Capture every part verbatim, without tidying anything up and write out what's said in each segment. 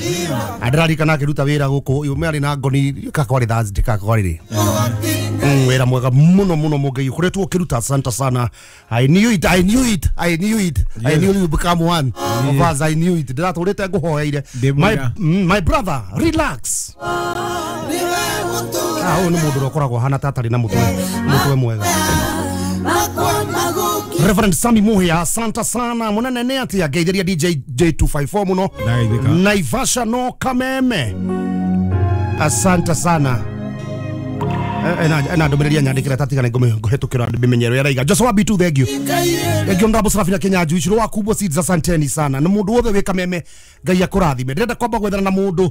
Ndĩraririkana akĩruta wĩra gũkũ yũme arĩ na ngoni kakwarĩ Thursday kakwarĩ rĩ. Mm, wĩra mwega mũno mũno Mũngei ũkoretwo ũkĩruta, asante sana. I knew it, I knew it, I knew it, I knew you become one of us. I knew it. Ndĩratũrĩte ngũhoeire. Ndĩ my, mwega. mm, my brother, relax. Ah, ũyũ nĩ mũndũ ũrĩa ũkoragwo ahana ta atarĩ na mũtwe mũtwe mwega. Reverend Sami Muhia, asante sana munene. Nĩ atia ngeithĩria D J J two five four mũno. Ndageithĩka. Naivasha no Kameme, asante sana. Eh, ena ena ndũmĩrĩri anyandĩkĩra tatigana ngũhĩtũkĩra mĩmenyero yaraiga. Joshua B two, thank you, thank you. Ndambo Serafina Kenya Juice wa kubwa seeds, asanteni sana. Na mũndũ wothe wĩ Kameme, Ngai akũrathime. Ndĩrenda kwamba gwethana na mũndũ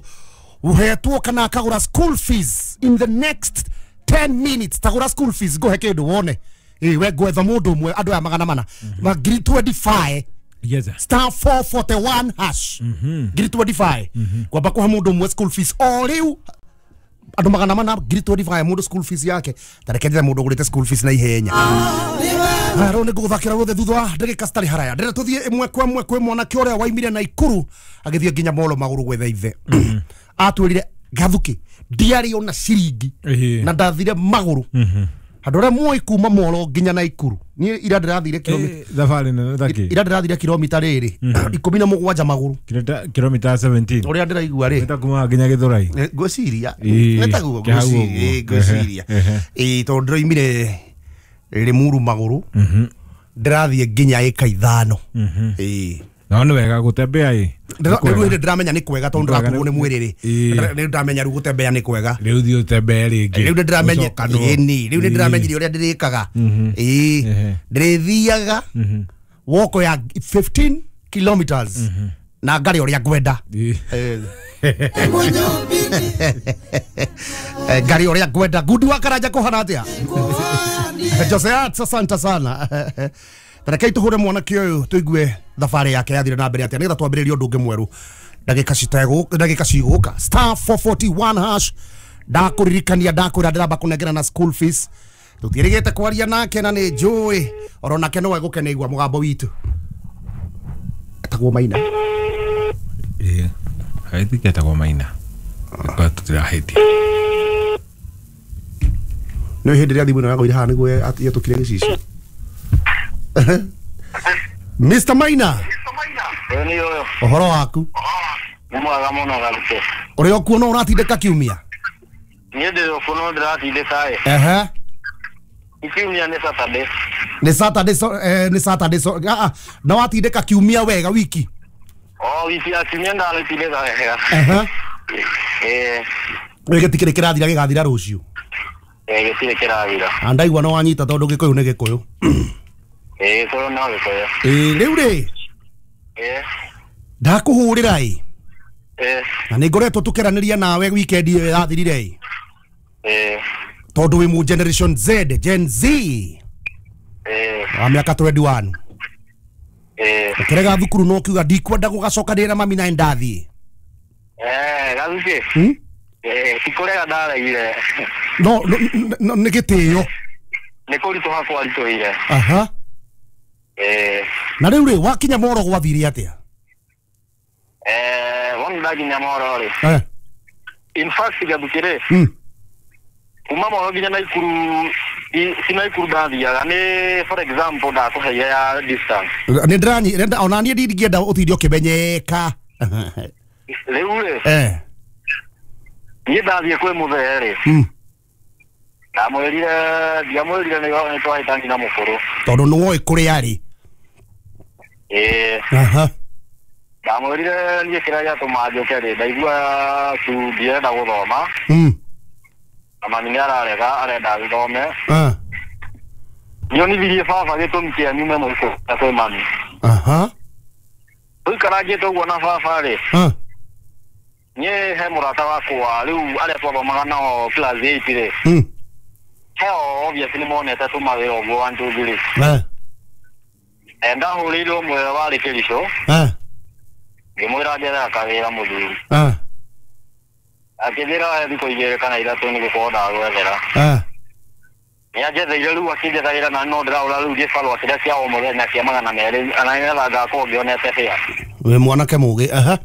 uhetwo kana akagũra school fees in the next ten minutes. Tagũra school fees ngũhe kĩndũ wone. Ĩ we ngwetha mũndũ ũmwe, andũ aya magana mana ma ngiri mĩrongo ĩĩrĩ na ithano. Yes, sir. Star four forty-one hash, ngiri mĩrongo ĩĩrĩ na ithano. Kwamba kũhe mũndũ ũmwe school fees o rĩu, andũ magana mana, ngiri mĩrongo ĩĩrĩ na ithano mũndũ school fees yake. Tareke njĩre mũndũ ũgũrĩte school fees na ihenya. Haya, rĩu nĩ ngũgũthakĩra ruothe thutha wa ndagĩka citarĩ haraya. Ndĩrenda tũthiĩ ĩmwe kwa ĩmwe kwĩ mwanake ũrĩa waimire na Ikuru agĩthiĩ nginya Molo magũrũ gwetha ithe. Atwĩrire gathuki ndiarĩ ona ciringi Ĩhĩ. na ndathire magũrũ. Andũ arĩa moĩ kuma Molo nginya na Ikuru, niĩ ira ndĩrathire kilomita Eh, thabarĩ nene thaki. Ira ndĩrathire kilomita rĩrĩ ikũmi na mũgwanja magũrũ. Kilomita kilomita ikũmi na mũgwanja. Ũrĩa ndĩraigua rĩ, Wĩta kuma nginya Gĩthũrai. Eh, ngwĩciria Ĩĩ, nĩ taguo. kĩhau ngwĩciria ũguo. ĩĩ, ngwĩciria Ehe, ĩĩ, tondũ ndĩroimire Limuru magũrũ, ndĩrathiĩ nginya ĩka ithano, ĩĩ. No nĩ wega gũtembea ĩ. Ndĩra- rĩu hĩndĩ ndĩramenya nĩ kwega tondũ Nĩ kwega, ndĩraturwo nĩ mwĩrĩ rĩ. Ĩĩ. Ndĩra- rĩu ndamenya rĩu gũtembea nĩ kwega. Rĩu thiĩ ũtembee rĩngĩ. Rĩu nĩ ndĩramenya. Ũcokanwo. Ĩni rĩu nĩ Ĩĩ. ndĩramenyire ũrĩa ndĩrĩkaga, ĩĩ. Ehe. Ndĩrĩthiaga woko ya fifteen kilometers na ngarĩ ũrĩa ngwenda. Ĩĩ. Eh. Eh, ngari ũrĩa ngwenda. Ngundi wa Karanja, kũhana atĩa? Jose Arts, asante sana. Tarekei tũhũre mwanake ũyũ tũigue thabarĩ yake yathire na mbere atĩa, nĩgetha twambĩrĩrie ũndũ ũngĩ mwerũ ndagĩka citegũ ndagĩka cigũka. Star four forty-one hash. Ndakũririkania, ndakwĩra ndĩramba kũnengera na school fees. Tũtiĩrĩgĩte kwaria nake na nĩ njũĩ oro nake no egũkena igua mũgambo witũ. Etagwo Maina. Ĩĩ. I think etagwo Maina. Kwa tũtirahĩtia. Nĩ hĩndĩ ĩrĩa thimũ ĩno yagũire haha nĩguo yetũkire gĩcicio. Mister Maina. Ũyũ nĩ ũyũ. Ũhoro waku? Nĩ mwega mũno, Garuke. Ũrĩa ũkuona ũratindĩka kiumia? Niĩ ndĩ ũkũ no ndĩratindĩka ĩ. Ehe. Kiumia nĩ Saturday. Nĩ Saturday, so, eh, nĩ Saturday, so, ah, ah, na watindĩka kiumia wega wiki? O wiki ya kiumia ndarĩtindĩka wega. Ehe. Ĩĩ. Gĩtikĩrĩ kĩrathira, gĩgathira rũciũ. Ĩĩ, gĩtirĩ kĩrathira. Na ndaigua no wanyita tondũ gĩkũyũ nĩ gĩkũyũ. Ĩĩ, gĩkũyũ no gĩkũyũ. Ĩĩ, rĩu rĩ, Ĩĩ. ndakũhũrĩra ĩ, Ĩĩ. na nĩ ngoretwo tũkĩranĩria nawe weekend ĩyo yathirire ĩ, Ĩĩ. tondũ wĩ mu generation Z, Gen Z, Ĩĩ. wa mĩaka mĩrongo ĩĩrĩ na ũmwe. Ĩĩ. Ũkĩrega thukuru no ũkiuga ndikwenda gũgacokanĩrĩra na mami na ndathiĩ. Eh, Garuke. Hmm? Ĩĩ, ti kũrega ndaregire. no no- no nĩ gĩtĩo. Nĩ kũritũha kwaritũhire. Aha. Ĩĩ. Na rĩu rĩ, wakinya Moro gwathire atĩa? Eh, wona ndakinya Moro rĩ. Eh. In fact, Garuke rĩ, mm. kuma Moro nginya Naikuru, i- si Naikuru ndathiaga, nĩ for example ndakũheire ya distance. Nĩ ndĩranyi ndĩrenda- ona niĩ ndingĩenda ũtinde ũkĩmenyeka. Rĩu rĩ, eh niĩ ndathiĩ kwĩ mũthee rĩ, mm. ndamwĩrire, ndiamwĩrire nĩ nĩ twahĩtani na mũkũrũ. Tondũ nĩ woĩ kũrĩa arĩ. Ĩĩ. Aha. Ndamwĩrire niĩ kĩrĩa gĩatũma njũke rĩ, ndaigua tu ndirenda gũthoma, mm. na mami nĩ ararega, arenda thome. Ah. Nionithirie baba gĩtũmi kĩa nyume mũciĩ kwĩ mami. Aha. Tũikarangĩte ũguo na baba rĩ, ah. niĩ he mũrata wakwa rĩu arĩa twathomaga nao class eight rĩ, mm. heo obviously nĩ monete tũmawĩra ũguo one two three. Eh. Eh, ndahũrĩirwo ũmwe warĩ Kĩricũ, eh. ngĩmwĩra njethaga kawĩra mũthuri. Eh. Akĩnjĩra he thikũ igĩrĩ kana ithatũ nĩ gũkorwo ndagwethera. Eh. Nĩ anjetheire rĩu, akĩnjethagĩra na no ndĩrahũra rĩu gĩbarũa kĩrĩa kĩa o mũthenya kĩa magana merĩ na nĩgetha ngakorwo ngĩonete bĩa. Wĩ mwanake mũgĩ, aha.